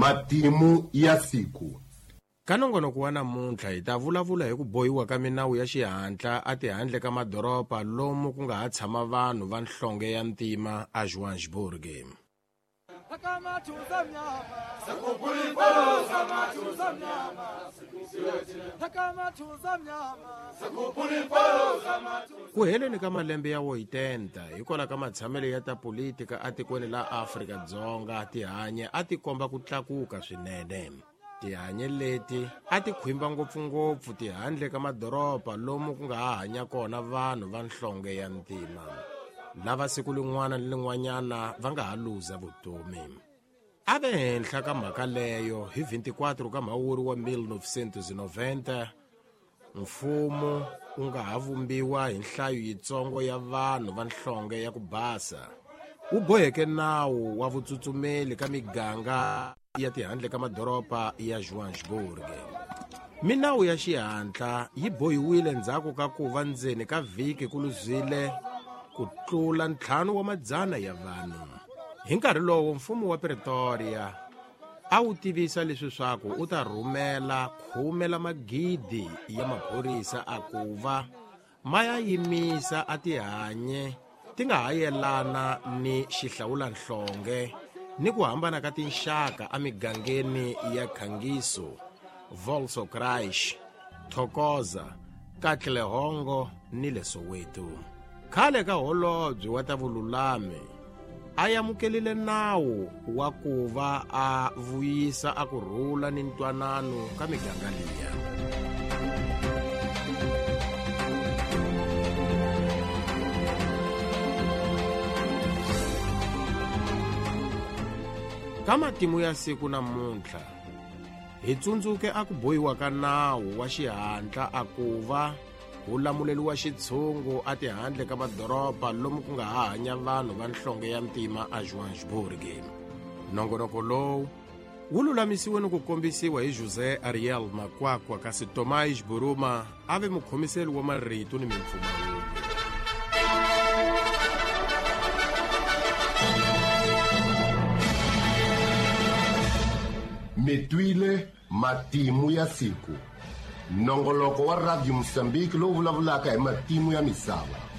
Matimu ya siku. Ka nongonoko wa namuntlha hi ta vulavula hi ku bohiwa ka minawu ya xihatla a tihandle ka madoroba lomu ku nga ha tshama vanhu va nhlonge ya ntima a Johannesburg. Ku heleni ka malembe ya 80 hikwalaho ka matshamelo ya ta politika atikweni la Afrika-Dzonga tihanye a ti komba ku tlakuka swinene. Tihanye leti a ti khwimba ngopfungopfu tihandle ka madoroba lomu ku nga ha hanya kona vanhu va nhlonge ya ntima lava siku lin'wana ni lin'wanyana va nga ha luza vutomi. A ve henhla ka mhaka leyo hi 24 ka Mhawuri wa 1990 mfumo wu nga ha vumbiwa hi nhlayo yitsongo ya vanhu va nhlonge ya ku basa wu boheke nawu wa vutsutsumeli ka miganga ya tihandle ka madoroba ya Johannesburg. Minawu ya xihatla yi bohiwile ndzhaku ka ku va ndzeni ka vhiki ku luzile ku tlula 500 ya vanhu. Hi nkarhi lowo mfumo wa Pretoria a wu tivisa leswi swaku u ta rhumela 10 la magidi ya maphorisa a ku va ma ya yimisa a tihanye ti nga ha yelana ni xihlawulanhlonge ni ku hambana ka tinxaka emigangeni ya Khangiso, Volkskraish, Thokoza, Katlehongo ni le Soweto. Khale ka holobye wa ta vululami a amukelile nawu wa ku va a vuyisa a ku rhula ni ntwanano ka miganga liya. Ka matimu ya siku namuntlha hi tsundzuke a ku bohiwa ka nawu wa xihatla a ku va wu lamuleliwa xitshungu a tihandle ka madoroba lomu ku nga ha hanya vanhu va nhlonge ya ntima a Johannesburg. Nongonoko lowu wu lulamisiwe ni ku kombisiwa hi José Ariel Makwakwa kasi Tomás Buruma a ve mukhomiseli wa marito ni mimpfumawulo. Mi twile matimu ya siku. Nongoloko wa Radio Mozambique lowu vulavulaka hi matimu ya misava.